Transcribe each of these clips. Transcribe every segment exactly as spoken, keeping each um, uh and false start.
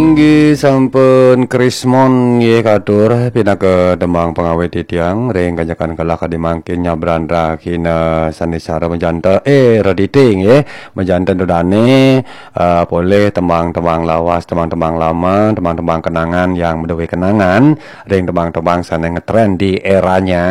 Inggih sampun krismon nggih katur pinaka tembang pangawit titiang ring kanjekan kalah kadi mangkin nyabran rahina sandisara majanten, eh, redite nggih, majanten ida dane, eh, polih tembang-tembang lawas, tembang-tembang lama, tembang-tembang kenangan yang madué kenangan ring tembang-tembang sane ngetren di eranya,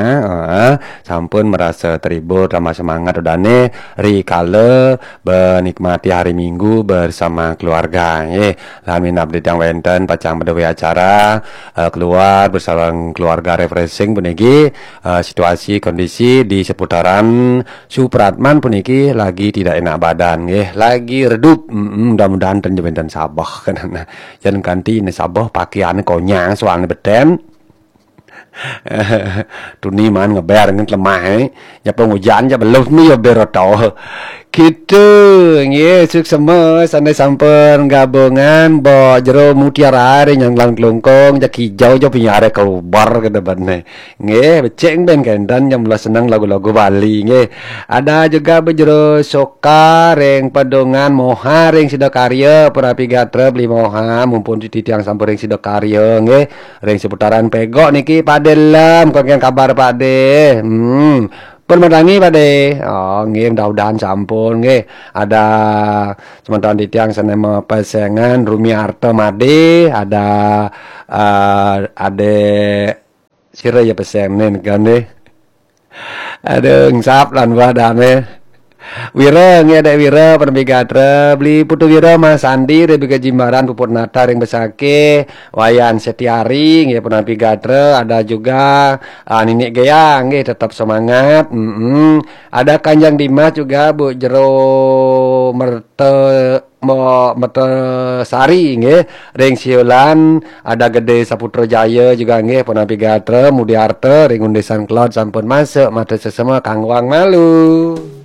eh, sampun marasa terhibur tambah semangat ida dane rikala menikmati hari Minggu bersama keluarga nggih. Lan minab titiang wenten pacang madué acara, eh, keluar bersama keluarga refreshing puniki, eh, situasi kondisi di seputaran Supratman puniki lagi tidak enak badan nggih, lagi redup. Mm-mm, mudah-mudahan ten wenten sabeh. Yen kanti ne sabeh pakaiane konyang soalne beten. Tuni man ngeber ngen lemah, eh. Nyapa ngujan ja belum ni ya ber to. Gitu, nggih, suksema sane sampun gabungan ba jero mutiara ring nyanglang kelungkung, jak hijau ja pinyare kelubar ke depan ne. Nggih, becik ben kenten yang mula seneng lagu-lagu Bali, nggih. Ada juga ba jero soka ring Pedungan Moha ring Sidakarya, pun api gatra beli Moha, mumpun titiang sampun ring Sidakarya, nggih. Ring seputaran Pegok niki Pade Lem, kon kabar Pade. Hmm. Pun madangi Pade. Oh, nggih, mudah-mudahan sampun nggih. Ada semeton titiang sane mapesengan Rumiarta Made, ada, eh, Ade sira ya pesen nen kan deh. Aduh, engsap lan badane. Wira, nggih, Dek Wira, penapi gatra. Beli Putu Wira, Mas Sandi, Rebecca Jimbaran, Puput Nata, ring Besakih, Wayan Setiari, nggih, penapi gatra. Ada juga, ah, Ninik Geyang, nggih, tetap semangat. Mm-mm. Ada Kanjeng Dimas juga, Bu Jero Merte-, Mo-, Mertesari, nggih, ring Siulan. Ada Gede Saputra Jaya juga, nggih, penapi gatra, Mudiarta, ring Undisan Kelod, sampun masuk, mata sesama, kangwang malu.